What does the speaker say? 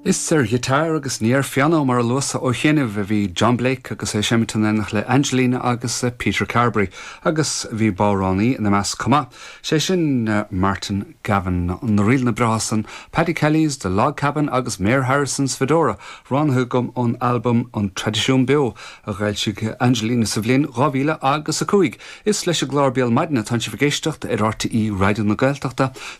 Is ar ghiotár agus ní ar phianó mar a luas ó chianaibh a bhí John Blake agus é ag seimint in éineacht le Angelina agus Peter Carberry agus bhí bodhránaí ina measc chomh maith, sé sin Martin Gavin. Na ríleanna breátha san, Paddy Kelly's The Log Cabin agus Mayor Harrison's Fedora, roghnaithe agam ón albam An Traidisiún Beo a dh'fhoilsigh Angelina sa bhliain 2005. Is leis an gclár Béal Maidine atánn sibh ag éisteacht ar RTÉ Raidió na Gaeltachta.